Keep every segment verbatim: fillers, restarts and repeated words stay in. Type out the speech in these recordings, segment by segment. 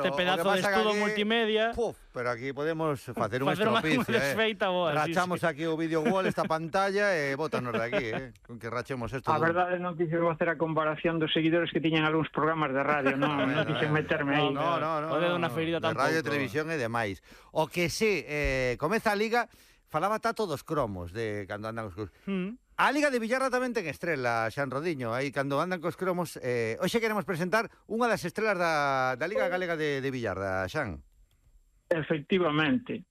este pedazo de estudo aquí, multimedia. Puf, pero aquí podemos facer un estropicio, eh. Boa, Rachamos sí, sí. aquí o video wall, esta pantalla, e eh, bótanos de aquí, eh. Con que rachemos esto. A verdade non quixen facer a comparación dos seguidores que tiñan algúns programas de radio, non, non quixen meterme aí. No, no, no. O de unha feirida tampouco. De radio e televisión e demais. O que sí, eh, comeza a Liga, falaba Tato dos cromos de cando andan os... Mm. A Liga de Villarra tamén ten estrela, Xan Rodiño, aí cando andan cos cromos. Eh, hoxe queremos presentar unha das estrelas da, da Liga Galega de, de Villarra, Xan. Efectivamente.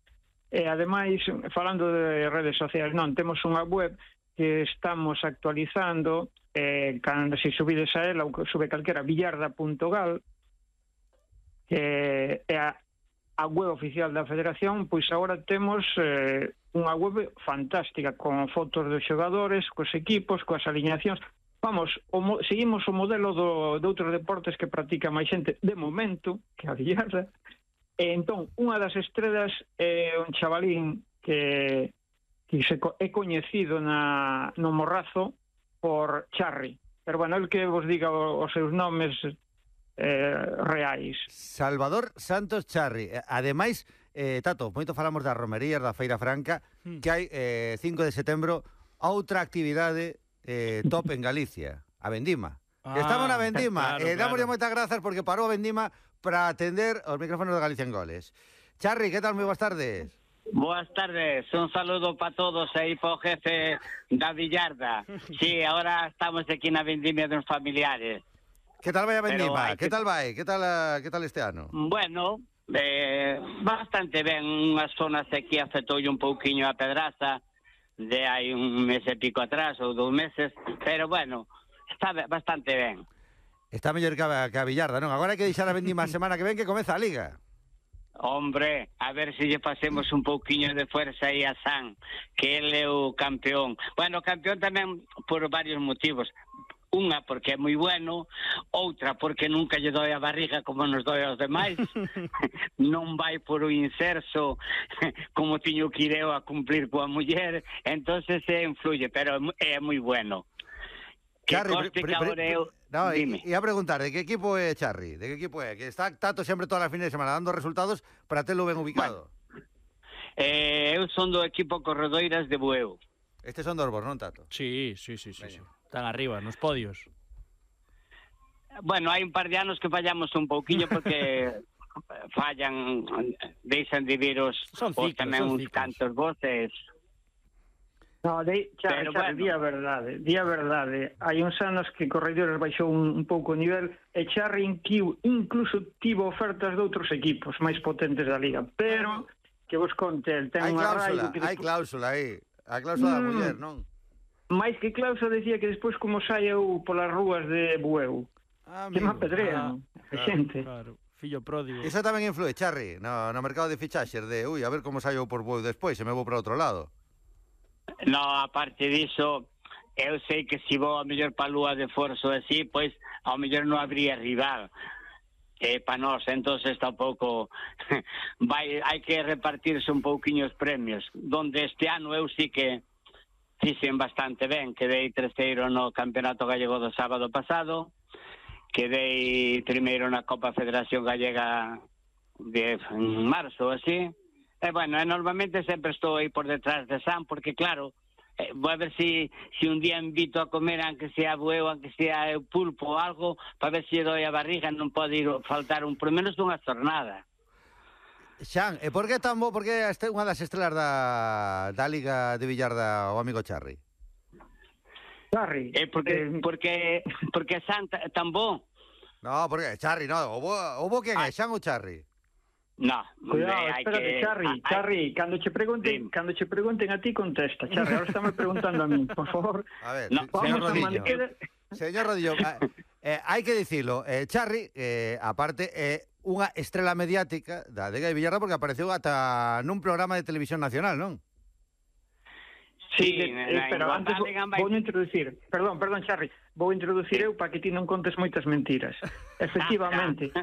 E ademais, falando de redes sociais, non, temos unha web que estamos actualizando, eh, cando se subides a ela, ou sube calquera, villarda punto gal, que é a, a web oficial da Federación, pois agora temos... Eh, unha web fantástica, con fotos dos xogadores, cos equipos, coas alineacións. Vamos, o, seguimos o modelo do, de outros deportes que practica máis xente de momento, que a billarda. E entón, unha das estrelas é un chavalín que, que se, é coñecido na, no Morrazo por Charri. Pero, bueno, el que vos diga os seus nomes eh, reais. Salvador Santos Charri. Ademais... Eh, Tato, moito falamos das romerías, da Feira Franca, mm. que hai eh, cinco de setembro outra actividade eh, top en Galicia, a Vendima. Ah, estamos na Vendima, claro, e eh, dámoslle claro. moitas grazas porque parou a Vendima para atender os micrófonos de Galicia en Goles. Charri, que tal? Moi boas tardes. Boas tardes, un saludo para todos aí para o jefe da Villarda. Sí, ahora estamos aquí na Vendimia dos familiares. Que tal vai a Vendima? Que... que tal vai? Que tal, a... que tal este ano? Bueno... Eh, bastante ben, unhas zonas aquí afectoulle un pouquiño a pedraza de hai un mes e pico atrás ou dous meses, pero bueno, está bastante ben. Está mellor que a, que a Villarda, non? Agora hai que deixar a Vendima a semana que ven que comeza a Liga. Hombre, a ver se lle facemos un pouquiño de fuerza aí a San, que ele é o campeón. Bueno, campeón tamén por varios motivos. Unha, porque é moi bueno, outra, porque nunca lle doi a barriga como nos doi aos demais, non vai por o inserso como tiño que ir eu a cumplir coa muller, entonces se influye, pero é moi bueno. Que Charri, coste pre, pre, que ahora eu... No, Dime. E a preguntar, de que equipo é Charri? De que equipo é? Que está Tato sempre todas as fines de semana dando resultados para telo ben ubicado. Bueno, eh, eu son do equipo Corredoiras de Bueu. Estes son dos vos, non, Tato? Sí, sí, sí, sí, sí. Están arriba, nos podios. Bueno, hai un par de anos que fallamos un pouquiño porque fallan, deixan de vir os, son ciclos, os tamén uns cantos voces. No, de, xa, xa, bueno. Día verdade, día verdade. Hai uns anos que Corredores baixou un, un pouco o nivel e Charri incluso tivo ofertas de outros equipos máis potentes da Liga, pero que vos conte, el ten unha raio... Hai cláusula aí, a cláusula mm. da muller, non? Mais que cláusula decía que despois como saio polas rúas de Bueu. Ah, que me apedrean, ah, a xente. Claro, fillo pródigo. Iso tamén influe, Charri, no, no mercado de fichaxes de, ui, a ver como saio por Bueu despois, se me vou para outro lado. No, aparte diso, eu sei que se vou a mellor pa lúa de Forzo así, pois ao mellor non habría rival. Eh, para nós, entonces tampouco vai, hai que repartirse un pouquiño os premios, donde este ano eu sí que fixen bastante ben, quedei terceiro no Campeonato Gallego do sábado pasado, quedei primeiro na Copa Federación Gallega de marzo, así, e bueno, e normalmente sempre estou aí por detrás de San, porque claro, eh, vou a ver si, si un día invito a comer, aunque sea bueu, aunque sea pulpo ou algo, para ver se doi a barriga, non pode ir faltar un, por menos dunha jornada. Xan, e por que tan bo, por que este unha das estrelas da, da Liga de Villarda o amigo Charri? Charri? Eh, porque, eh, porque, porque Xan tan bo. No, porque Charri, no, o bo, o bo quen é, Xan ou Charri? No, cuidado, espérate, que... Charri, ah, Charri, hay... cando che pregunten, sí. cando che pregunten a ti contesta, Charri, ahora estamos preguntando a mí, por favor. A ver, no, señor Rodillo. Señor Rodillo, eh, hai que dicilo, eh, Charri, eh, aparte, é eh, unha estrela mediática da Liga de Villarra porque apareceu ata nun programa de televisión nacional, non? Sí, de, eh, pero antes vou, vou introducir, perdón, perdón, Charri, vou introducir sí. eu para que ti non contes moitas mentiras. Efectivamente,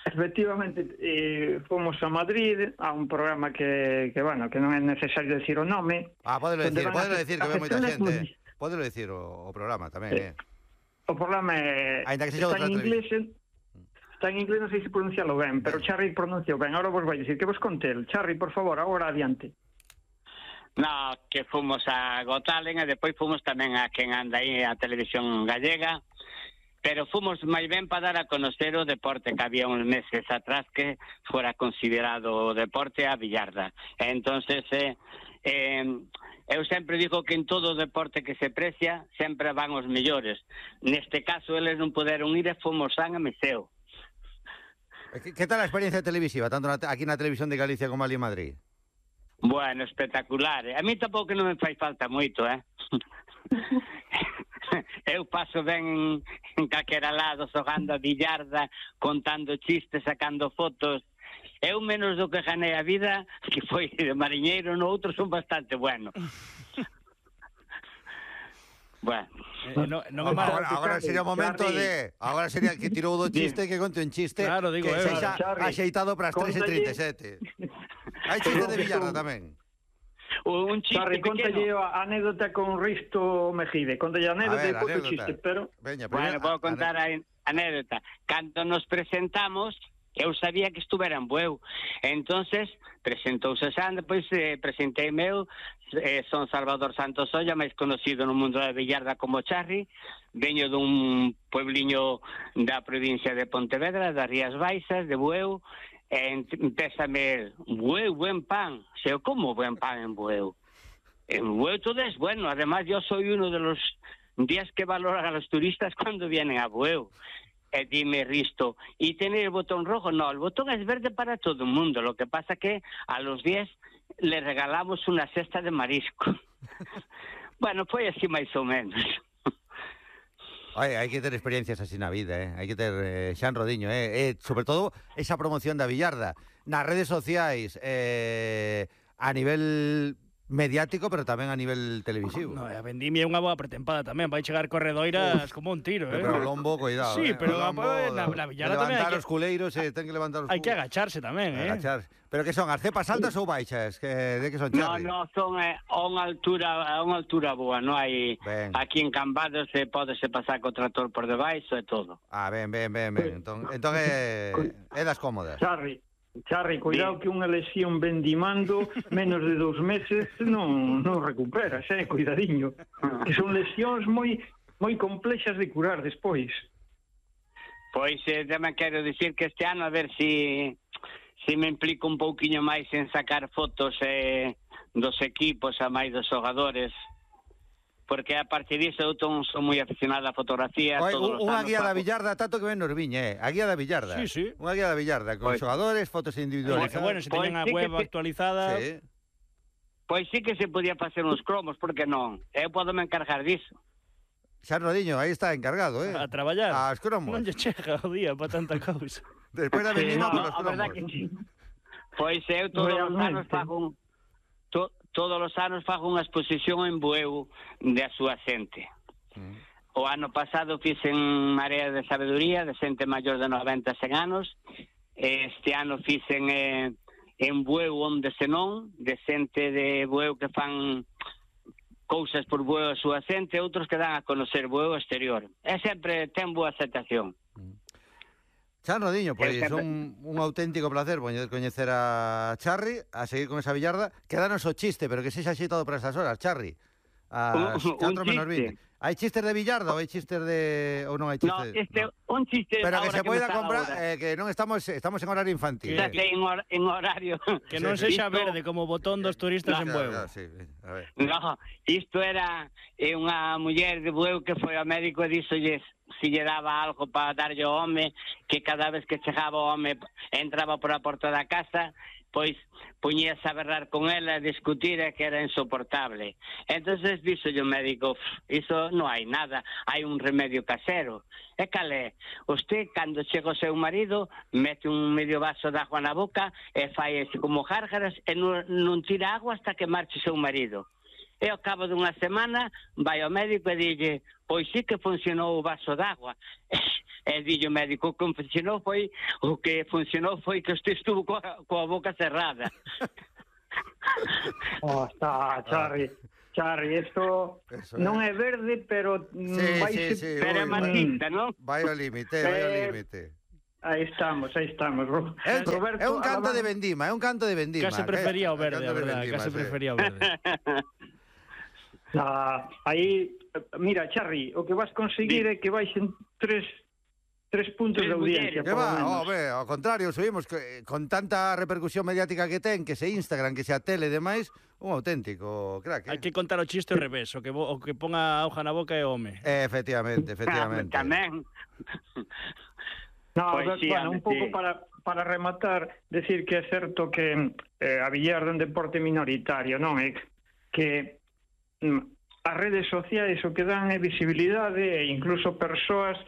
efectivamente, eh, fomos a Madrid a un programa que, que, bueno, que non é necesario decir o nome. Ah, podelo decir, podelo decir que ve moita xente. Podelo decir o, o programa tamén, eh. O programa é, está en inglés, está en inglés, non sei se pronuncialo ben, pero Charri pronunciou ben. Ahora vos vai dicir que vos conte el. Charri, por favor, agora adiante. No, que fomos a Gotalen e depois fomos tamén a quen anda aí a televisión gallega, pero fomos máis ben para dar a conocer o deporte que había uns meses atrás que fora considerado o deporte a billarda. E entonces eh, eh, eu sempre digo que en todo o deporte que se precia sempre van os mellores. Neste caso eles non poderon ir e fomos San e Meseo. ¿Qué, ¿Qué tal la experiencia televisiva, tanto na, aquí na televisión de Galicia como ali en Madrid? Bueno, espectacular. A mí tampouco non me fai falta moito, eh? Eu paso ben en calquera lado, xogando a billarda, contando chistes, sacando fotos. Eu menos do que ganei a vida, que foi de mariñeiro, no outro son bastante bueno. Bueno. Eh, no, no me ahora, ahora sería o momento de... Agora sería que tirou do chiste, que conte un chiste claro, digo, que eh, sexa Charri, axeitado para as tres e trinta e sete. Hai chiste de billarda tamén. Un chiste Charri, pequeno. contalle a anécdota con Risto Mejide. Contalle a anécdota e depois o chiste, pero... Veña, Bueno, vou contar a anécdota. Cando nos presentamos, eu sabía que estuvera en Bueu. Entonces, presentouse San, depois eh, presentei meu, eh, son Salvador Santos Olla, máis conocido no mundo da billarda como Charri, veño dun puebliño da provincia de Pontevedra, das Rías Baixas, de Bueu, e empézame, Bueu, buen pan. Xeo, como buen pan en Bueu? En Bueu todo es bueno, además yo soy uno de los días que valoran a los turistas cuando vienen a Bueu. E dime Risto, ¿y tener el botón rojo? No, el botón es verde para todo el mundo. Lo que pasa que a los diez le regalamos una cesta de marisco. Bueno, foi así máis ou menos. Ay, hai que ter experiencias así na vida, eh? Hai que ter eh, Xan Rodiño, eh? eh? Sobre todo esa promoción da billarda nas redes sociais, eh, a nivel mediático, pero tamén a nivel televisivo. No, a Vendimia é unha boa pretempada tamén, vai chegar corredoiras Uf, como un tiro, eh. Pero o lombo, cuidado, sí, eh. pero o lombo, na, na billarda tamén levantar hai que... os culeiros, eh, ten que levantar os Hai que agacharse tamén, eh. Agachar. Pero que son, as cepas altas ou baixas? Que, de que son, No, Charri? no, son eh, a unha altura a unha altura boa, non hai Ben. aquí en Cambados se podese pasar co trator por debaixo e todo. Ah, ben, ben, ben, ben. Entón, entón é, é das cómodas. Charri, Charri, cuidado que unha lesión vendimando menos de dous meses non, non recuperas, eh, cuidadiño. Que son lesións moi moi complexas de curar despois. Pois eh, tamén quero dicir que este ano a ver si si me implico un pouquiño máis en sacar fotos eh, dos equipos a máis dos xogadores, porque a partir disso eu ton, son moi aficionado á fotografía. Oye, todos os unha anos guía da fago- billarda, tanto que ven nos viña, eh? A guía da billarda. Sí, sí. Unha guía da billarda, con Pois- xogadores, fotos Bueno, individualizadas. bueno, se teñen a Pois sí que web te- actualizada... Sí. Pois sí que se podía facer uns cromos, porque non? Eu podo me encargar disso. Xan Rodiño, aí está encargado, eh? A traballar. As cromos. Non lle chega o día para tanta cousa. Despois da vendima, Sí, con no, os a verdad cromos. que sí. Pois eu todos os anos Realmente. fago un, to, todos os anos fago unha exposición en Bueu da súa xente. Mm. O ano pasado fixen Marea de Sabedoría de xente maior de noventa a cen anos. Este ano fixen eh, en Bueu onde senón, de xente de Bueu que fan cousas por Bueu a súa xente, outros que dan a conocer Bueu exterior. E sempre ten boa aceptación. Xan Rodiño, pois Eu sempre- un, un auténtico placer poñer coñecer a Charri, a seguir con esa billarda. Quedanos o chiste, pero que sexa xeitado para estas horas, Charri. As Un- un catro menos chiste. vinte. Hai chistes de billarda ou hai chistes de... ou non hai No, chistes? este, No. un chiste Pero que ahora se me poida está comprar, ahora. eh, que non estamos estamos en horario infantil. Xa eh. sei, en, hor en horario. Que non Sí, sexa Isto- verde como o botón dos turistas en Claro, Bueu. claro, sí. A ver. No, isto era eh, unha muller de Bueu que foi ao médico e díxolles si lle daba algo para darlle ao home, que cada vez que chegaba o home entraba por a porta da casa, pois puñíase a berrar con ela, a discutir e que era insoportable. Entonces díxolle o médico, iso non hai nada, hai un remedio casero. E cal é? Usted, cando chega o seu marido, mete un medio vaso de agua na boca e fai ese como gárgaras e non, non tira agua hasta que marche o seu marido. E ao cabo dunha semana vai ao médico e dille, pois sí que funcionou o vaso d'agua. E dille o médico, o que funcionou foi, o que funcionou foi que usted estuvo coa, coa boca cerrada. Oh, está, Charri. Charri, isto Eso non é. é verde, pero Sí, vai sí, se... sí, Pero é ui, machista, non? Vai ao límite, vai ao Eh, límite. Aí estamos, aí estamos. Ro- É un, Roberto é un canto Alamán- de vendima, é un canto de vendima. Case prefería o que- verde, canto a de verdade, vendima, case sí. prefería o verde. Ah, aí, mira, Charri, o que vas conseguir é que baixen tres, tres puntos Tres de audiencia, mulleres. Que por lo va, menos. home, ao contrario, subimos que, con tanta repercusión mediática que ten, que se Instagram, que se a tele e demais, un auténtico crack, eh? Hai que contar o chiste ao revés, o que, bo- o que ponga a hoja na boca é o home. Eh, Efectivamente, efectivamente. Tamén. No, Pois pero, sí, bueno, un home, pouco sí. para, para rematar, decir que é certo que eh, a billar é un deporte minoritario, non é que mm, as redes sociais o que dan é visibilidade e incluso persoas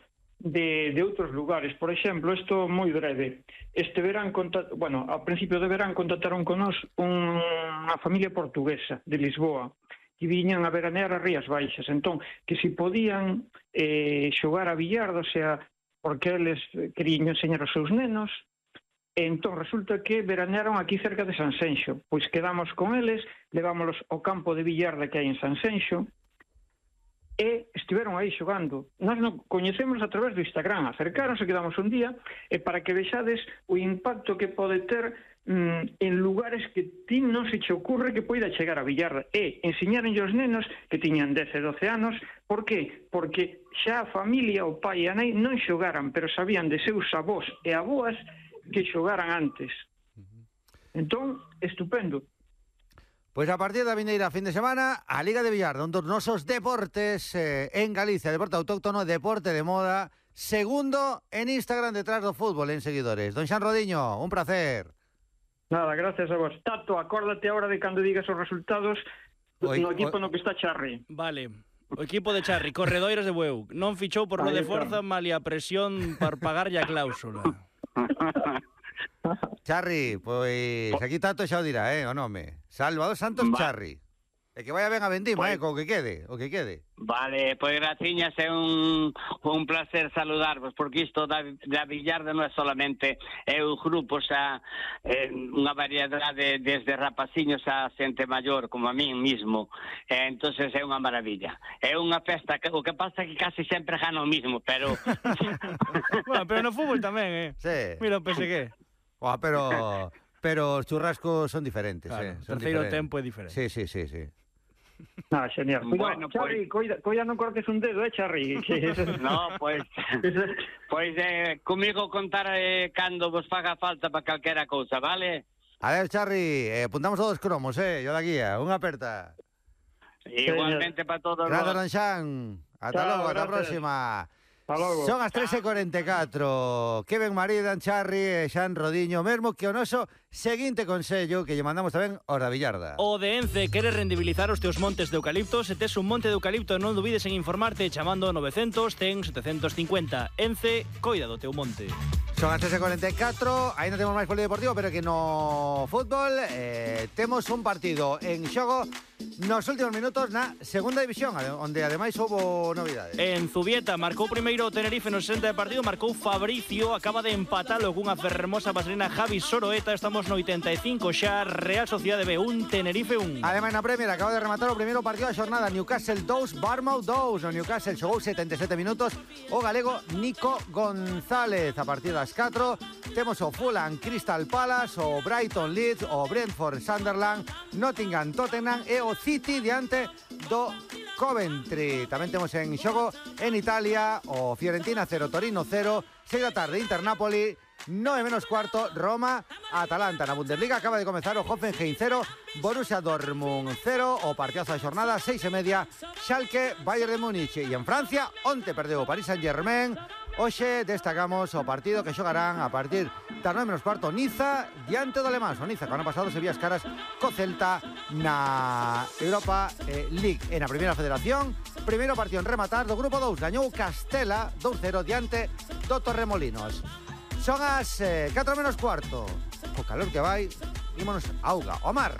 de, de outros lugares. Por exemplo, isto moi breve. Este verán, conta, bueno, ao principio de verán contactaron con nos un, unha familia portuguesa de Lisboa que viñan a veranear as Rías Baixas. Entón, que si podían eh, xogar a billardo, o sea, porque eles querían enseñar aos seus nenos, e entón resulta que veranearon aquí cerca de Sanxenxo. Pois quedamos con eles, levámolos ao campo de billarda que hai en Sanxenxo, e estiveron aí xogando. Nós non coñecemos a través do Instagram, acercaronse, quedamos un día, e para que vexades o impacto que pode ter mm, en lugares que ti non se che ocurre que poida chegar a billarda, e enseñaronlle aos nenos que tiñan dez e doce anos. Por qué? Porque xa a familia, o pai e a nai non xogaran, pero sabían de seus avós e avoas que xogaran antes. Entón, estupendo. Pois a partir da vindeira fin de semana, a Liga de Billar, un dos nosos deportes eh, en Galicia, deporte autóctono, deporte de moda, segundo en Instagram detrás do fútbol en seguidores. Don Xan Rodiño, un placer. Nada, gracias a vos. Tato, acórdate ahora de cando digas os resultados Oi, no equipo oi. no que está Charri. Vale. O equipo de Charri, Corredoiras de Bueu, non fichou por lo Aí de está. forza, malia presión para pagarlle a cláusula. Charri, pois aquí Tato xa o dirá, eh, o nome. Salvador Santos Va. Charri. E que vaya ben a vendima, Pois- eh, co que quede, o que quede. Vale, pois graciñas, é un, un placer saludarvos, porque isto da, da billarda non é solamente é un grupo xa, é, unha variedade desde rapaciños a xente maior, como a min mismo, e, entonces é unha maravilla. É unha festa, que, o que pasa é que casi sempre gana o mismo, pero... Bueno, pero no fútbol tamén, eh. Sí. Mira o P S G. Buah, pero pero os churrascos son diferentes, Claro, eh. Son terceiro diferentes. tempo é diferente. Sí, sí, sí, sí. Ah, genial. Cuidado, Bueno, Charri, coida, coida non cortes un dedo, eh, Charri. Que eso- No, pois... eso- Pois eh, comigo contar eh, cando vos faga falta para calquera cousa, vale? A ver, Charri, eh, apuntamos todos os cromos, eh, yo da guía, unha aperta. Igualmente para todos Gracias, vos. Don Xan. Ata Chao, logo, ata a gracias. próxima. Hasta logo. Son as tres e cuarenta e catro. Que ben maridan Charri e Xan Rodiño, mesmo que o noso seguinte consello que lle mandamos tamén aos da Villarda. O de Ence quere rendibilizar os teus montes de eucalipto. Se tes un monte de eucalipto, non dubides en informarte chamando novecientos, cen, setecientos cincuenta. Ence, coida do teu monte. Son as tres e cuarenta e catro, aí non temos máis polideportivo, pero que no fútbol eh, temos un partido en xogo nos últimos minutos na segunda división, onde ademais houbo novidades. En Zubieta marcou primeiro o Tenerife no sesenta de partido, marcou Fabricio, acaba de empatalo cunha fermosa vaselina Javi Soroeta. Estamos no oitenta e cinco xa, Real Sociedade B un, Tenerife un. Ademais na Premier acaba de rematar o primeiro partido da xornada, Newcastle dous, Bournemouth dous. No Newcastle xogou setenta e sete minutos o galego Nico González. A partir das catro temos o Fulham Crystal Palace, o Brighton Leeds, o Brentford Sunderland, Nottingham Tottenham e o City diante do Coventry. Tamén temos en xogo en Italia o Fiorentina cero, Torino cero, seis da tarde Inter Napoli, nove menos cuarto Roma Atalanta. Na Bundesliga acaba de comezar o Hoffenheim cero, Borussia Dortmund cero, o partidazo da xornada seis e media Schalke Bayern de Múnich. E en Francia onte perdeu o Paris Saint-Germain. Hoxe destacamos o partido que xogarán a partir das nove menos cuarto Niza diante do Alemán. O Niza que o ano pasado se vía as caras co Celta na Europa eh, League. E na Primeira Federación, primeiro partido en rematar do grupo dous, gañou Castela dous cero diante do Torremolinos. Son as eh, catro menos cuarto. O calor que vai, ímonos auga, o mar.